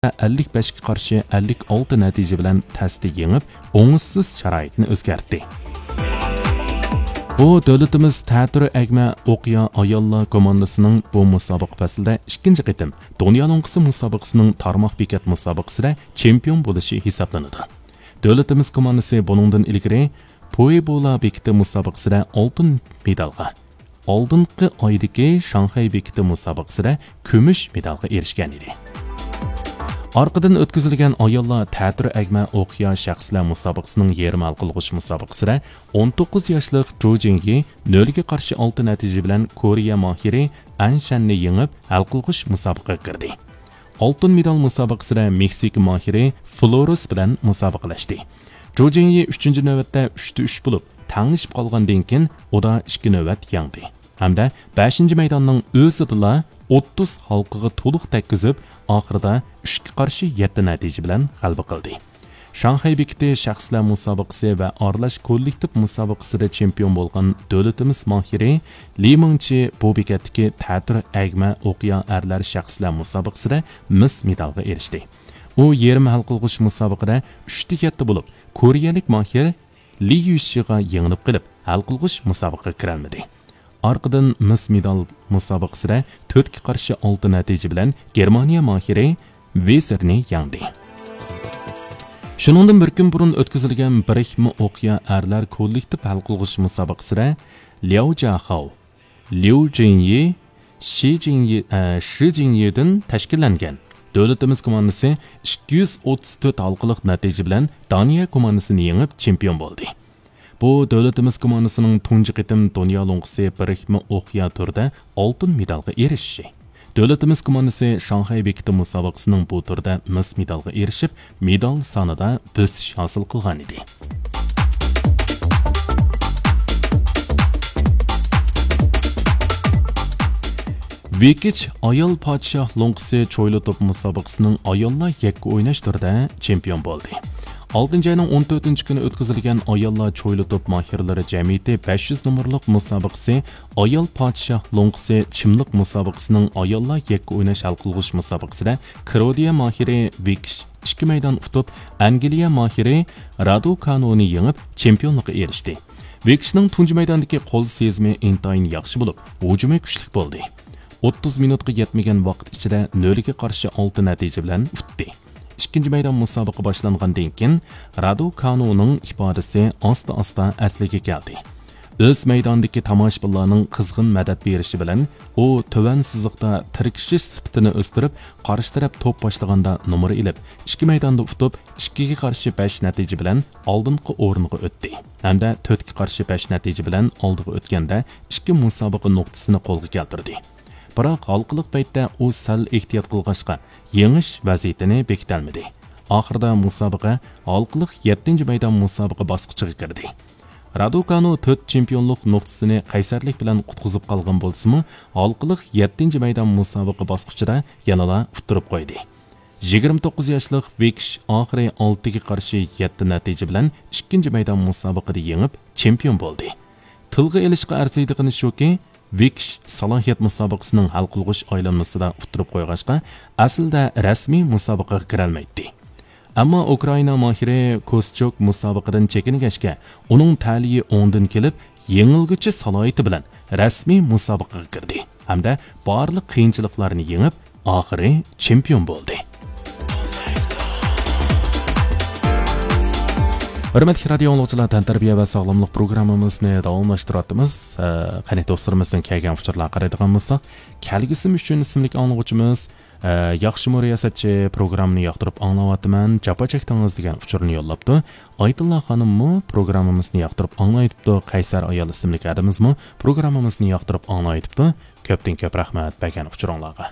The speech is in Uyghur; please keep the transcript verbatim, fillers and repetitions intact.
ئەللىك بەشكە قارشى ئەللىك ئالتە نەتىجە بىلەن تەستە يېڭىپ، ئوڭۇشسىز شارائىتنى ئۆزگەرتتى. بۇ دۆلىتىمىز تەتۈر ئەگمە ئوقيا ئاياللار كوماندىسىنىڭ بۇ مۇسابىقە پەسلىدە ئىككىنچى قېتىم دۇنيا لوڭقىسى مۇسابىقىسىنىڭ تارماق بېكەت مۇسابىقىسىدە چېمپىيون بولۇشى ھېسابلىنىدۇ. دۆلىتىمىز كوماندىسى بۇنىڭدىن ئىلگىرى پۇئېبولا بېكىتى مۇسابىقىسىدە ئالتۇن مېدالغا، ئالدىنقى ئايدىكى شاڭخەي بېكىتى مۇسابىقىسىدە كۈمۈش مېدالغا ئېرىشكەن ئىدى. ئارقىدىن ئۆتكۈزۈلگەن ئاياللار تەتۈر ئەگمە ئوقيا شەخسلەر مۇسابىقىسىنىڭ يېرىم ھەل قىلغۇچ مۇسابىقىسىدە ئون توققۇز ياشلىق جۇ جىڭيى نۆلگە قارشى ئالتە نەتىجە بىلەن كورېيە ماھىرى ئەن شەننى يېڭىپ، ھەل قىلغۇچ مۇسابىقىگە كىردى. ئالتۇن مېدال مۇسابىقىسىدە مېكسىكا ماھىرى فلورېس بىلەن مۇسابىقىلەشتى. جۇ جىڭيى ئۈچىنچى نۆۋەتتە ئۈچتە ئۈچ بولۇپ، تەڭلىشىپ قالغاندىن كېيىن، ئۇدا ئىككى نۆۋەت يەڭدى ھەمدە بەشىنچى مەيداننىڭ ئۆزىدىلا ئوتتۇز ھالقىغا تولۇق تەگكۈزۈپ، ئاخىرىدا ئۈچكە قارشى يەتتە نەتىجە بىلەن غەلىبە قىلدى. شاڭخەي بېكىتى شەخسلەر مۇسابىقىسى ۋە ئارىلاش كوللېكتىپ مۇسابىقىسىدە چېمپىيون بولغان دۆلىتىمىز ماھىرى لى مىڭچى بۇ بېكەتتىكى تەتۈر ئەگمە ئوقيا ئەرلەر شەخسلەر مۇسابىقىسىدە مىس مېدالغا ئېرىشتى. ئۇ يېرىم ھەل قىلغۇچ مۇسابىقىدە ئۈچتە يەتتە بولۇپ، كورېيەلىك ماھىر لى يۈشىغا يېڭىلىپ قېلىپ، ھەل قىلغۇچ مۇسابىقىگە كىرەلمىدى. ئارقىدىن مىس مېدال مۇسابىقىسىدە تۆتكە قارشى ئالتە نەتىجە بىلەن گېرمانىيە ماھىرى ۋېسېرنى يەڭدى. شۇنىڭدىن بىر كۈن بۇرۇن ئۆتكۈزۈلگەن بىرىكمە ئوقيا ئەرلەر كوللېكتىپ ھەل قىلغۇچ مۇسابىقىسىدە لياۋ جياخاۋ، ليۇ جىنيى، شى جىنيى، ئە، شى جىنيىدىن تەشكىللەنگەن دۆلىتىمىز كوماندىسى ئىككى يۈز ئوتتۇز تۆت ھالقىلىق نەتىجە بىلەن دانىيە كوماندىسىنى يېڭىپ، چېمپىيون بولدى. بۇ دۆلىتىمىز كوماندىسىنىڭ تۇنجى قېتىم دۇنيا لوڭقىسى بىرىكمە ئوقيا تۈرىدە ئالتۇن مېدالغا ئېرىشىشى. دۆلىتىمىز كوماندىسى شاڭخەي بېكىتى مۇسابىقىسىنىڭ بۇ تۈردە مىس مېدالغا ئېرىشىپ، مېدال سانىدا بۆسۈش ھاسىل قىلغان ئىدى. ۋېكىچ ئايال پادىشاھ لوڭقىسى چويلا توپ مۇسابىقىسىنىڭ ئاياللار يەككە ئويناش تۈرىدە چېمپىيون بولدى. ئالتىنچى ئاينىڭ ئون تۆتىنچى كۈنى ئۆتكۈزۈلگەن ئاياللار چويلا توپ ماھىرلىرى جەمئىيىتى بەش يۈز نومۇرلۇق مۇسابىقىسى ئايال پادىشاھ لوڭقىسى چىملىق مۇسابىقىسىنىڭ ئاياللار يەككە ئويناش ھەل قىلغۇچ مۇسابىقىسىدە كرودىيە ماھىرى ۋېكىش ئىككى مەيدان ئۇتۇپ، ئەنگلىيە ماھىرى رادۇكانونى يېڭىپ، چېمپىيونلۇققا ئېرىشتى. ۋېكىشنىڭ تۇنجى مەيداندىكى قول سېزىمى ئىنتايىن ياخشى بولۇپ، ھۇجۇمى كۈچلۈك بولدى. ئوتتۇز مىنۇتقا يەتمىگەن ۋاقىت ئىچىدە نۆلگە قارشى ئالتە نەتىجە بىلەن ئۇتتى. ئىككىنچى مەيدان مۇسابىقە باشلانغاندىن كېيىن، رادۇكانۇنىڭ ئىپادىسى ئاستا-ئاستا ئەسلىگە كەلدى. ئۆز مەيدانىدىكى تاماشىبىنلارنىڭ قىزغىن مەدەت بېرىشى بىلەن، ئۇ تۆۋەن سىزىقتا تىركىشىش سۈپىتىنى ئۆستۈرۈپ، قارشى تەرەپ توپ باشلىغاندا نومۇر ئېلىپ، ئىككى مەيداندا ئۇتۇپ، ئىككىگە قارشى بەش نەتىجە بىلەن ئالدىنقى ئورۇنغا ئۆتتى ھەمدە تۆتكە قارشى بەش نەتىجە بىلەن ئالدىغا ئۆتكەندە، ئىككى مۇسابىقە نۇقتىسىنى قولغا كەلتۈردى. بىراق، ھالقىلىق پەيتتە ئۇ سەل ئېھتىيات قىلغاچقا، يېڭىش ۋەزىيىتىنى بېكىتەلمىدى. ئاخىرىدا مۇسابىقە ھالقىلىق يەتتىنچى مەيدان مۇسابىقە باسقۇچىغا كىردى. رادۇكانۇ تۆت چېمپىيونلۇق نۇقتىسىنى قەيسەرلىك بىلەن قۇتقۇزۇپ قالغان بولسىمۇ، ھالقىلىق يەتتىنچى مەيدان مۇسابىقە باسقۇچىدا يەنىلا ئۇتتۇرۇپ قويدى. يىگىرمە توققۇز ياشلىق ۋېكىش ئاخىرى ئالتىگە قارشى يەتتە نەتىجە بىلەن ئىككىنچى مەيدان مۇسابىقىدە يېڭىپ، چېمپىيون بولدى. تىلغا ئېلىشقا ئەرزىيدىغىنى شۇكى، ۋېكىش سالاھىيەت مۇسابىقىسىنىڭ ھەل قىلغۇچ ئايلانمىسىدا ئۇتتۇرۇپ قويغاچقا، ئەسلىدە رەسمىي مۇسابىقىگە كىرەلمەيتتى. ئەمما ئۇكرائىنا ماھىرى كوسچۇك مۇسابىقىدىن چېكىنگەچكە، ئۇنىڭ تەلىيى ئوڭدىن كېلىپ، يېڭىلگۈچى سالاھىيىتى بىلەن رەسمىي مۇسابىقىگە كىردى ھەمدە بارلىق قىيىنچىلىقلارنى يېڭىپ، ئاخىرى چېمپىيون بولدى. ھۆرمەتلىك رادىيو ئاڭلىغۇچىلار، تەنتەربىيە ۋە ساغلاملىق پروگراممىمىزنى داۋاملاشتۇرۇۋاتىمىز. ئە، قېنى دوستلىرىمىزدىن كەلگەن ئۇچۇرلارغا قارايدىغان بولساق، كەلگۈسىم ئۈچۈن ئىسىملىك ئاڭلىغۇچىمىز، ئە، ياخشىمۇ رىياسەتچى، پروگراممىنى ياقتۇرۇپ ئاڭلاۋاتىمەن، جاپا چەكتىڭىز دېگەن ئۇچۇرنى يوللاپتۇ. ئايتىللا خانىممۇ پروگراممىمىزنى ياقتۇرۇپ ئاڭلاۋېتىپتۇ، قەيسەر ئايال ئىسىملىك ھەدىمىزمۇ پروگراممىمىزنى ياقتۇرۇپ ئاڭلاۋېتىپتۇ. كۆپتىن كۆپ رەھمەت بەرگەن ئۇچۇرۇڭلارغا.